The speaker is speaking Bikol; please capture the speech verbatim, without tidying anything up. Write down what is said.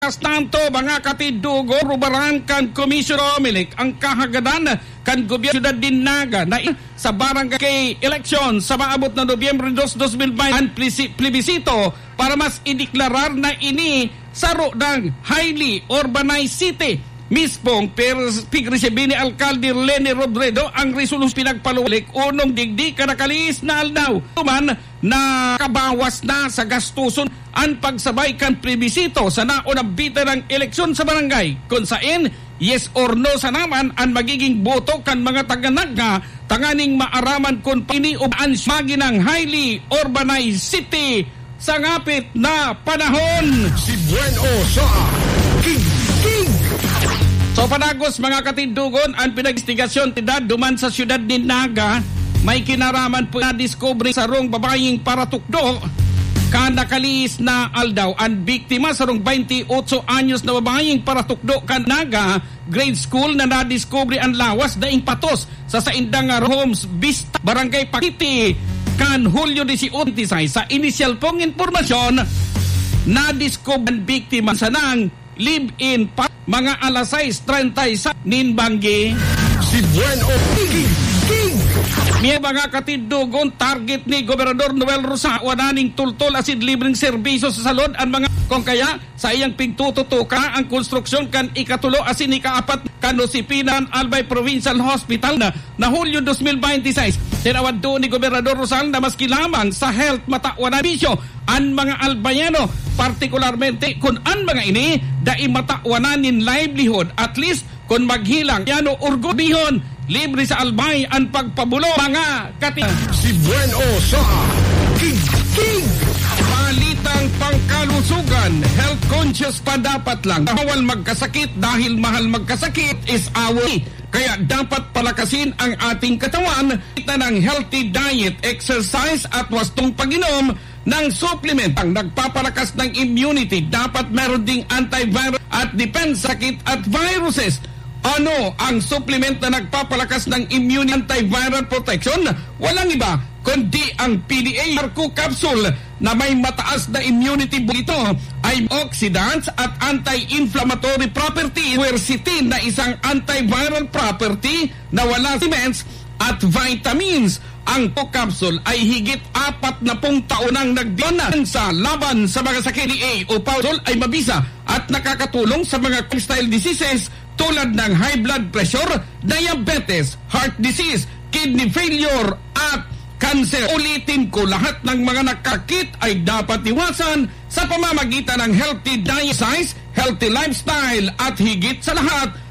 Mientras tanto, mga katidugo, rubaran kan Komisyon Comelec ang kahagadan kan gobyerno siyudad nin Naga na i-, sa barangay eleksyon sa maabot na Nobyembre dos, dos mil baynte, ang plisi-, plebisito para mas ideklarar na ini saro ng highly urbanized city. Mispong pers-, pigresibin ni Alkalde Leni Robredo ang resolusyon pinagpaluwalik unong digdi kan nakalihis na aldaw. Tuman, nakabawas na sa gastuson an pagsabay kan plebisito sa naunang bitin ng eleksyon sa barangay, kun saen yes or no sana man an magiging boto kan mga taga-Naga tanganing maaraman kun paini o an maginang highly urbanized city sa ngapit na panahon. Si Buen O sa King King. So, panagos, mga katindogon, an pinag-imbestigasyon duman sa siyudad nin Naga, may kinaraman po na diskubre sarong babayeng paratukdo kan nakalihis na aldaw. An biktima, sarong baynti otso anyos na babayeng paratukdo kan Naga Grade School na nadiskubre an lawas daing patos sa saindang, ah, homes, Vista, Barangay Pakiti, kan Hulyo dieciocho, twenty-six. Sa inisyal pong impormasyon, nadiskubre an biktima sanang live-in pa mga alas sais treinta y seis nin banggi. Si Buen O King King. May mga katindogon, target ni Gobernador Noel Rosal, wala ning tultol asin libreng serbisyo sa salud an mga, kung kaya, sa iyang pigtututukan ang konstruksyon kan ikatulo asin ikaapat kan Josefina Albay Provincial Hospital na, na Hulyo dos mil baynte sais. Tinawad doon ni Gobernador Rosal na maski lamang sa health matawan na bisyo an mga Albayano, partikularmente kun an mga ini dai matawan nin livelihood, at least kun maghelang, yan o orgulyo, libre sa Albay an pagpabulo, mga kati-. Si Buen O sa King King. Balitang pangkalusugan, health conscious pa dapat lang. Bawal magkasakit dahil mahal magkasakit is away. Kaya dapat palakasin ang ating katawan, kita ng healthy diet, exercise at wastong pag-inom ng supplement ang nagpapalakas ng immunity. Dapat meron ding antiviral at depensa sakit at viruses. Ano ang supplement na nagpapalakas ng immune antiviral protection? Walang iba kundi ang P D A Arco capsule na may mataas na immunity. Ito ay oxidants at anti-inflammatory property, quercetin na isang antiviral property na wala sa supplements at vitamins. Ang Arco capsule ay higit apat na pung taon nang nagdona sa laban sa mga sakit. P D A o capsule ay mabisa at nakakatulong sa mga lifestyle diseases tulad ng high blood pressure, diabetes, heart disease, kidney failure, at cancer. Ulitin ko, lahat ng mga nakakit ay dapat iwasan sa pamamagitan ng healthy diet, exercise, healthy lifestyle, at higit sa lahat,